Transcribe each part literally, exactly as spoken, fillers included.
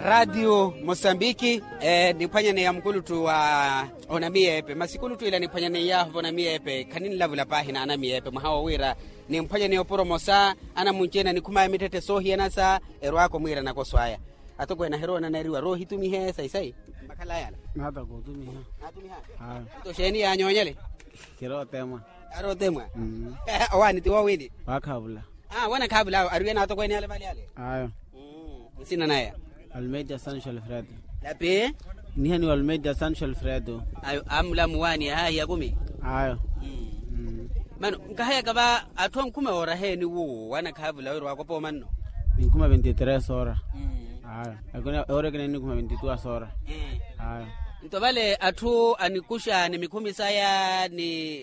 Ratio mosambiki. Niphwanyaneya mukuluttu wa onamiyeepe masi kuluttu ila niphwanyaneyaahu vonamiyeepe khaninlavula paahi n'anamiyeepe mwaha wo wira nimpwanyaneya opuro mosa anamunci-ene anikhumaya mitthette soohiyana sa erwaaka omwiira nakoso aya. Atokweene ahiroona aneriwa rohitumihe sayi-sayi. Makhala yala. Naata kootumiha. Nto xeeni yaanyoonyele? Kirootemwa. Arootemwa. Owaani ti woowini? Waakhaavula. Aa wanakhaavula awo ariwe naatokweene yale vale yale. Ayo. Nsina naya? Almeida sancho alfredo. Lapi. Nihaniwa almeida sancho alfredo. Ayo amulamu waani yahaahi ya kumi. Ayo. Mano nkahayaka va atthu ankhume ooraheeni wuwo wanakhaavula wira waakopa omanno? Ninkhume vinti tres ora. Ayo. Ore kina ninkhume vinti tuwa sora. Ayo. Nto vale atthu anikuxa ni mikhumi saya ni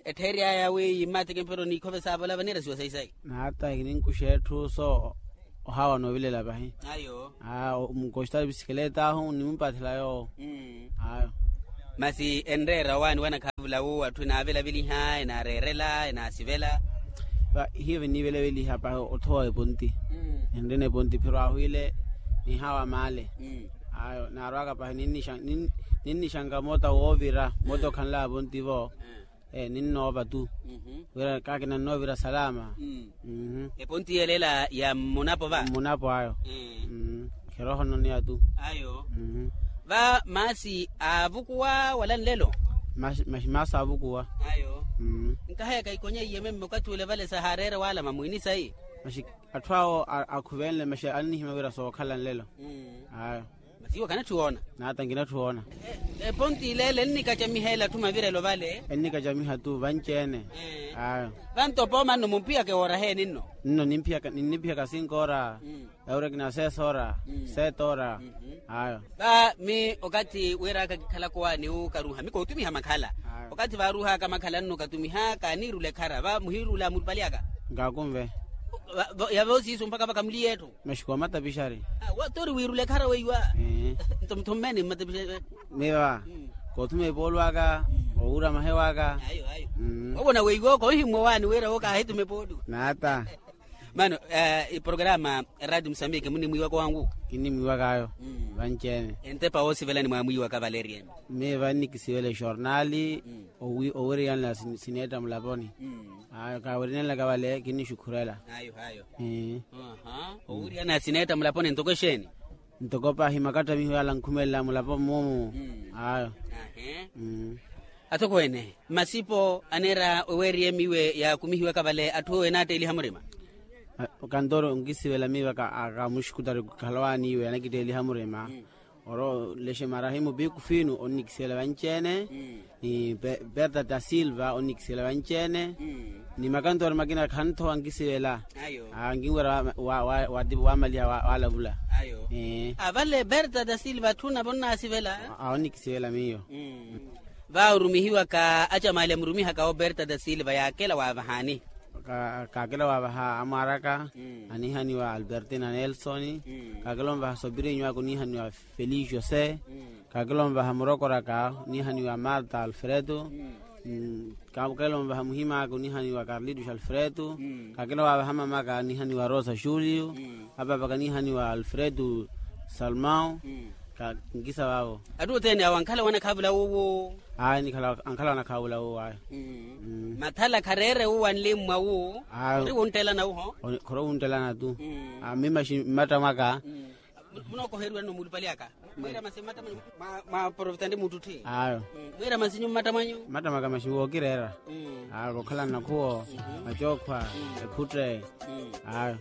ettheeri aya wi yimmati kimpero niikhove saavola vanirasiwa sayi-sayi. Naata kininkuxa etthu so ohawa noovilela vahi. Ayo. Aa mukoxitali pisikileta ahu nimumpathela yoowo. Ayo. Masi enreera owaani wanakhaavula wu atthu enaavelaveliha enaareerela enaasivela? Hiyo viniivelaveliha pahi othowa eponti. Enreene eponti phiro ahu ile nihawa maale. Ayo naarwaka pahi ninnixanka moota woovira moota okhanlaya ponti vo. Ninnoova tu wira kaakina nnoovira salama. Eponti yelela ya mmunapo va? Mmunapo ayo. Khiroho nnoneya tu. Ayo. Va maasi aavukuwa wala nlelo? Maasi aavukuwa. Ayo. Nkahayaka ikonya iyememme okathi ule vale sahaareere waalama mwiini sayi. Atthu awo akhuvenle masi annihimya wira sookhala nlelo. Ayo. Masi iwe kanatthi woona? Naata nkinatthi woona. Eponti ileele ennikacamiha ela atthu mavirelo vale. Ennikacamiha tu vanci-ene. Ayo. Vanto poomanno mumpiyaka ewoorahe ninno? Nno ninniphiyaka sinkoora. Ewurekina sesoora. Setoora. Ayo. Va mi okathi wiiraka kikhalaka owaani wu karuuha mi kootumiha makhala. Okathi vaaruuhaka makhala nno katumiha kaaniirula ekhara va muhiirula mulupali aka? Nkaakunve. Yave osiisu mpakha vakamuliya etthu. Maxiko matapixari. Tori wiirula ekhara weiwa? Nto muthu mmene mmatapixari. Miva koothuma epoolu aka owuura mahewa aka. Ovona weiwa ooko ohimmwa owaani wira wo kaahituma epoolu. Naata. Mano eprograma radio musambiki munimwiiwaka owangu? Kinnimwiiwaka ayo. Vanci-ene. Entepa woosivela nimwaamwiiwaka valeryeni? Miva nnikisivela exornali. Owiriyanela sineetta mulaponi. Ayo kaawiriyanelaka vale kinnixukhurela. Ayo ayo. Owiriyanela sineetta mulaponi ntoko exeeni? Ntoko pahi makattamiho yaala nkhumelela mulapo mmumu. Ayo. Atokweene masipo aneera oweeriye miiwe yaakumihiwaka vale atthu ewo enaatteliha murima? Kantoro nkisivela miiwe aka muxukutari khalowaani iwe anakitteliha murima. Oro lexe marahimu piku finu onnikisela vanci-ene. Ni perta da silva onnikisela vanci-ene. Ni makantori makina khanthowa nkisivela. Nkinwira wamaliha walavula. Avale perta da silva atthu navo nnaasivela. Onnikisivela miyo. Va orumihiwaka acamali amurumihaka operta da silva yaakela waavahani? Kaakela waavaha amwaaraka anihaniwa albertina nelson. Kaakela onvaha sopirinyo aka onihaniwa felicio se. Kaakela onvaha murokoraka onihaniwa marta alfredo. Kaakela onvaha muhimaka onihaniwa carlitos alfredo. Kaakela waavaha mamaka onihaniwa rosa julio. Apaapaka onihaniwa alfredo salmao. Nkisa vaavo. Atthu othene awo ankhala wanakhaavula wuwo? Ankhala wanakhaavula wuwo ayo. Mathala khareere wuwo anlimmwa wuwo. Ori wunttela na wuho? Khori wunttela na tu. Mima xi mmatta mwaka. Munookoheriwa nno muulupali aka? Mwiira masi mmatta mwanyu? Mwaporofita ntti muttutthi ayo. Mwiira masi nyu mmatta mwanyu? Mmatta mwaka masi wookireera. Ayo kookhalana nakhuwo, macookhwa, ephutte. Ayo.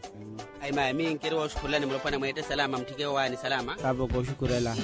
Ayi maya mi nkiri wooxukhurelani mulopwana mweette salama mutthike owaani salama. Paapa kooxukhurela.